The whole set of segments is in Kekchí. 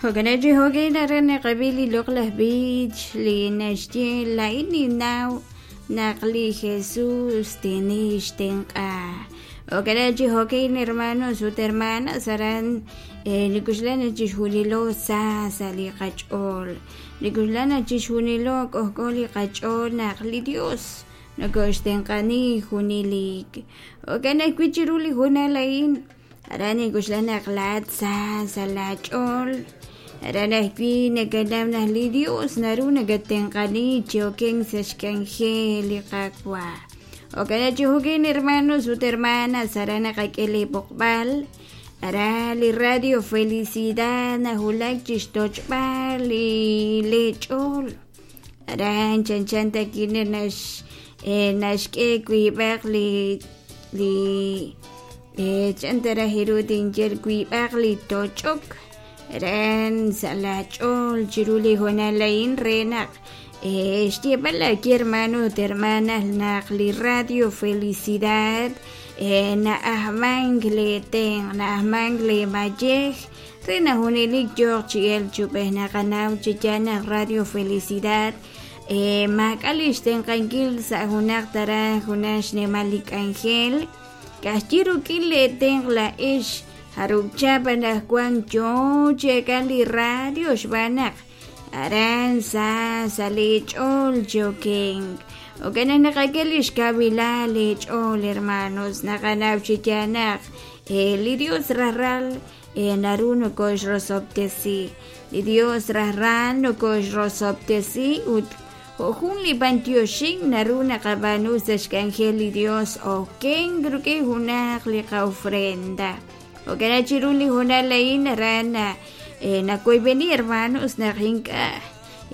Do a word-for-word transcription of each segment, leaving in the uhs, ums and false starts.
Jo'kan chi jo'kan aran naqab'i li loq'laj b'ich li naxye laa'in ninnaw naq li Jesús tinixtenq'a. Jo'kan chi jo'kan hermanos ut hermanas aran nikuxlan chixjunilo sa sa' li qach'ool nikuxlan chixjunilo k'ojk'o li qach'ool naq li Dios nokoxtenq'ani junelik. Jo'kan ajwi' chiru li hoonal a'in aran nikuxlan naq laa'at sa sa' laach'ool aran ajwi' nakanaw naq li Dios naru nakatenq'ani chi okenk sa' xk'anjel li Qaawa'. Jo'kan chi jo'kan hermanos ut hermanas aran naqak'e li b'oqb'al aran li Radio Felicidad najulak chixtoch'b'al li lech'ool aran chanchan takine nax naxk'e wiib'aq li li chan taraj iru tinye wiib'aq li toch'ok aran sa' lach'ool chiru li hoonal a'in re naq xyeeb'al laaye hermano ut hermanas naq li Radio Felicidad na'ajmank le tenq' na'ajmank le mayej re naq junelik yooq chi elk chub'ej naqanaw chi yaal naq Radio Felicidad maak'a' li xtenq'ankil sa' junaq taraj junaq xnimal li k'anjel ka'ajwi' rik'in le tenq' laa'ex jarub'chap anaqwan yoo chi eek'an li radio xb'aan naq aran sa sa' lech'ool chi okenk. Jo'kan naq naqak'e li xkawilal lech'ool hermanos naqanaw chi yaal naq li Dios rajlal naru nokoxrosob'tesi li Dios rajlal nokoxrosob'tesi ut jun li b'antioxink naru naqab'aanu sa' xk'anjel li Dios okenk rik'in junaq li qa'ofrenda. Jo'kan chiru li hoonal a'in aran nakoyb'eni hermanos naq ink'a'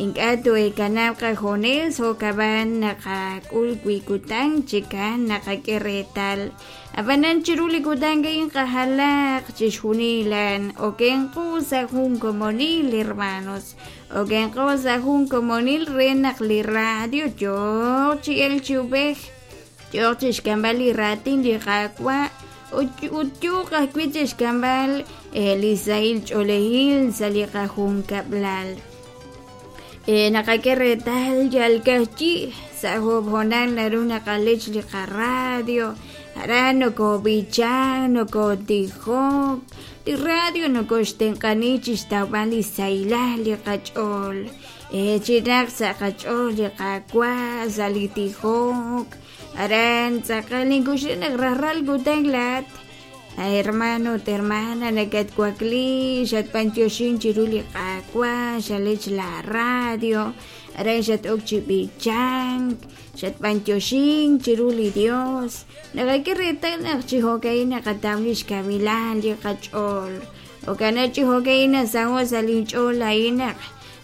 ink'a' toekanab' qajunes jo'kab'an naqak'ul wi kutan chikan naqak'e reetal ab'anan chiru li kutan a'in qajalaq chixjunilan okenqu sa' jun komonil hermanos okenqu sa' jun komonil re naq li radio yooq chi elk chi ub'ej yooq chixk'amb'al li raatin li Qaawa' ut yooq ajwi' chixk'amb'al li sahil ch'oolejil sa' li qajunkab'lal. Naqak'e reetal yal ka'ajwi' sa' job hoonal naru naqalech li qaradio aran nokob'ichan nokotijok li radio nokoxtenq'ani chixtawb'al li sahilal li qach'ool chinaq sa' qach'ool li Qaawa' sa' li tijok aran tz'aqal ninkuxlan naq rajlal kutan laat hermano ut hermana nakatwakli xatb'antioxin chiru li Qaawa' xalech la radio aran xat'ok chi b'ichank xatb'antioxin chiru li Dios naqak'e reetal naq chi jo'ka'in naqataw li xkawilal li qach'ool jo'kan chi jo'ka'in nasaho' sa' linch'ool a'in naq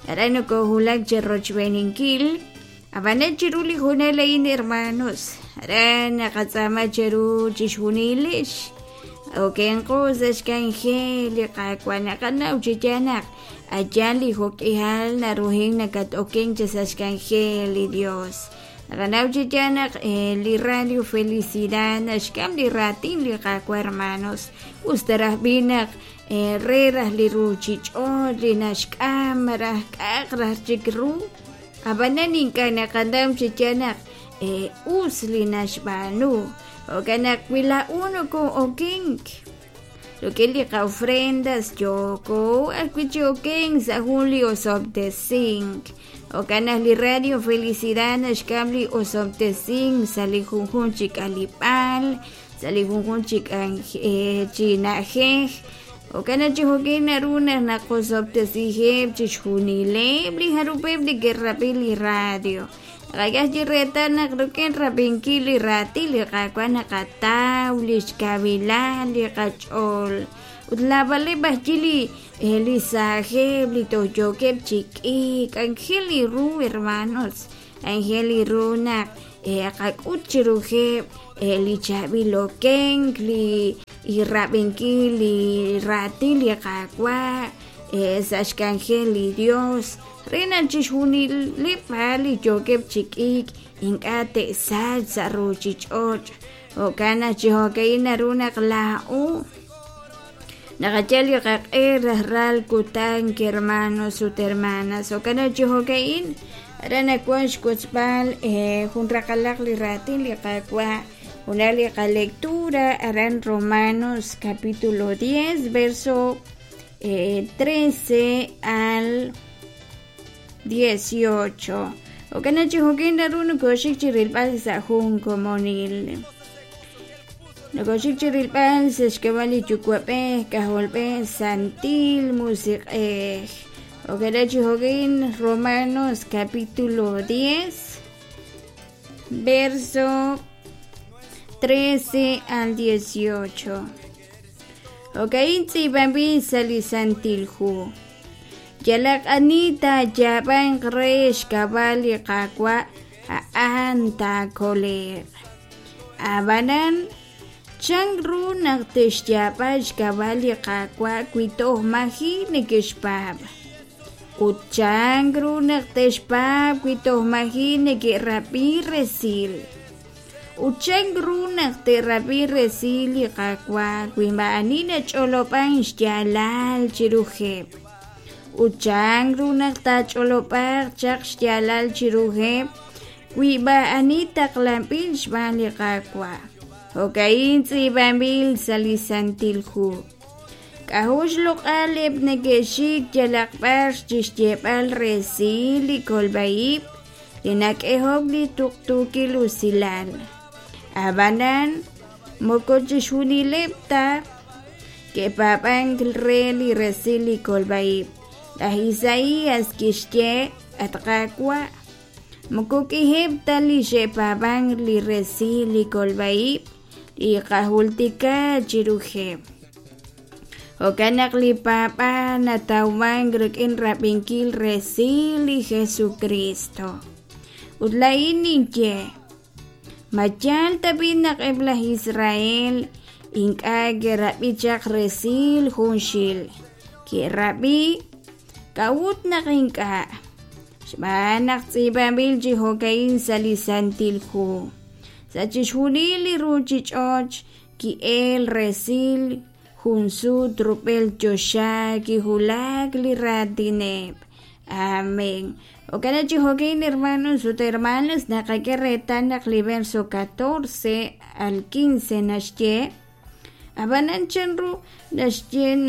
aran nokojulak chi rochb'eninkil ab'anan chiru li hoonal a'in hermanos aran naqatz'aama cheru chixjunilix okenqu sa' xk'anjel li Qaawa' naqanaw chi yaal naq ayan li jo'k'ihal naruhin nakat-okenk chi sa' xk'anjel li Dios naqanaw chi yaal naq li Radio Felicidad naxk'am li raatin li Qaawa' hermanos us taraj b'i' naq re raj li ruchich'och' li naxk'am raj k'aq raj chik ru ab'anan ink'a' naqanaw chi yaal naq us li naxb'aanu jo'kan naq wi laa'u noko'okenk rik'in li qa'ofrendas yooko ajwi' chi okenk sa' jun li osob'tesink jo'kan naq li Radio Felicidad naxk'am li osob'tesink sa' li junjun chi k'alib'aal sa' li junjun chi chi na'ajej jo'kan naq chi jo'kan naru naq naqosob'tesijeb' chixjunileb' li jarub'eb' li ke'rab'i li radio naqak'e chi reetal naq rik'in rab'inkil li raatin li Qaawa' naqataw li xkawilal li qach'ool ut laab'aleb' ajwi' li li saajeb' li toj yookeb' chi k'iik anjel li ru hermanos anjel li ru naq qak'ut chirujeb' li chaab'il okenk li rab'inkil li raatin li Qaawa' sa' xk'anjel li Dios re naq chixjunileb' li yookeb' chi k'iik ink'a' te'sachq sa' ruchich'och' jo'kan naq chi jo'ka'in naru naq laa'o Naqayal li qaq'e rajlal kutan hermanos ut hermanas. Jo'kan chi jo'ka'in aran nawan xwotzb'al jun raqalaq li raatin li Qaawa' junaq li qalectura aran Romanos capítulo diez verso trece al dieciocho. Jo'kan chi jo'kin naru nokoxik chi rilb'al sa' jun komonil. Nokoxik chi rilb'al sa' xk'ab'a' li Yuwa'b'ej, K'ajolb'ej, Santil Musiq'ej. Jo'kan chi jo'kin Romanos capítulo diez verso trece al dieciocho. Jo'ka'in tz'iib'anb'il sa' li Santil Hu. Yalaq ani taayaab'anq re xk'ab'a' li Qaawa' a'an taakole'q. Ab'anan chan ru naq te'xyaab'a xk'ab'a' li Qaawa' wi toj maji' neke'xpaab'? Ut chan ru naq te'xpaab' wi toj maji' neke'rab'i resil? Ut chan ru naq te'rab'i resil li Qaawa' wi maa'ani nach'olob'an xyaalal chiruheb'? Ut chan ru naq taach'olob'aq chaq xyaalal chiruheb' wi maa'ani taqlanb'il xb'aan li Qaawa'? Jo'ka'in tz'iib'anb'il sa' li Santil Hu. K'a'jo' xloq'al eb' neke'xik yalaq b'ar chi xyeeb'al resil li kolb'a-ib' li nak'ehok li tuqtuukil usilal. Ab'anan moko chixjunileb' ta ke'paab'ank re li resil li kolb'a-ib'. Laj Isaías kixye: At Qaawa', moko k'iheb' ta li xe'paab'ank li resil li kolb'a-ib' li qajultika chiruheb'. Jo'kan naq li paab'aal natawmank rik'in rab'inkil resil li Jesucristo. Ut laa'in ninye: ma yaal tab'i' naq eb' laj Israel ink'a' ke'rab'i chaq resil junxil? Ke'rab'i. K'a'ut naq ink'a'? Xb'aan naq tz'iib'anb'il chi jo'ka'in sa' li Santil Hu. Sa' chixjunil li ruuchich'och' ki'el resil jun sut rub'el choxa kiwulak li raatineb'. Amén. Jo'kan chi jo'kin hermanos ut hermanas naqak'e reetal naq li verso catorce al quince naxye: Ab'anan chan ru naxye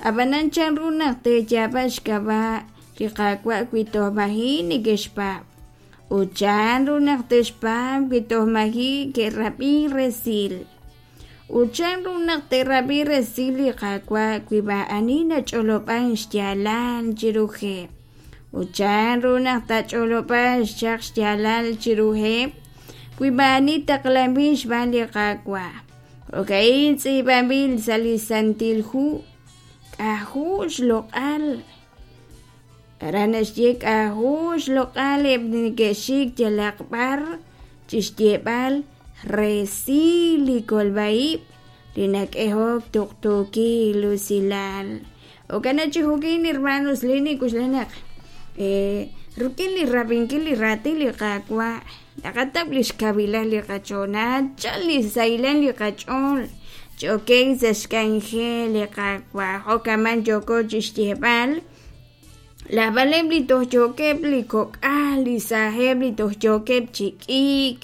ab'anan chan ru naq teeyaab'a xk'ab'a' li Qaawa' wi toj maji' neke'xpaab'? Ut chan ru naq te'xpaab' wi toj maji' ke'rab'i resil? Ut chan ru naq te'rab'i resil li Qaawa' wi maa'ani nach'olob'an xyaalal chiruheb'? Ut chan ru naq taach'olob'an chaq xyaalal chiruheb' wi maa'ani taqlanb'il xb'aan li Qaawa'? Jo'ka'in tz'iib'anb'il sa' li Santil Hu. K'a'jo' xloq'al. Aran naxye k'a'jo' xloq'al eb' neke'xik yalaq b'ar chi xyeeb'al resil li kolb'a-ib' li nak'ehok tuqtuukil usilal. Jo'kan chi jo'kin hermanos li nik'uxla naq rik'in li rab'inkil li raatin li Qaawa' naqatab' li xkawilan li qach'ool, nachal li sahilal li qach'ool ch'okek sa' xk'anjel li Qaawa'. Jo'kaman yooko chi xyeeb'al lajb'aleb' li toj yookeb' li kok'al, li saajeb' li toj yookeb' chi k'iik,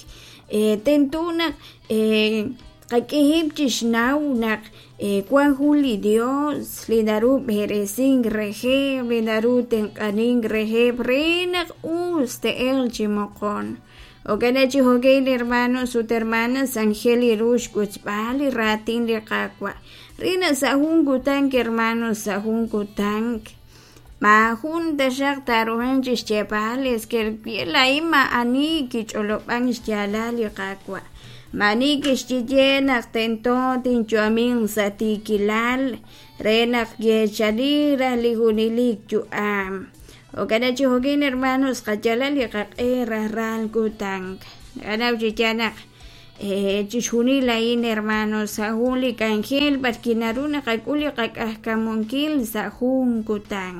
tento naq qak'eheb' chi xnaw naq wan jun li Dios li naru b'eresink reheb', li naru tenq'anink reheb' re naq us te'elq chi moqon. Jo'kan chi jo'kin hermanos ut hermanas angel ru xwotzb'al li raatin li Qaawa'. Re naq sa' jun kutan hermanos sa' jun kutan maajun taxaq taaruhanq chi xyeeb'al es que laa'in maa'ani kich'olob'an xyaalal li Qaawa'. Maa'ani kixye naq tento tinyu'amin sa' tiikilal re naq yeechani raj li junelik yu'am. Jo'kan chi jo'kin hermanos qayalal li qaq'e rajlal kutan. Naqanaw chi yaal naq chixjunil a'in hermanos sa' jun li k'anjel b'ar kinaru naqak'ul li qak'ajkamunkil sa' jun kutan.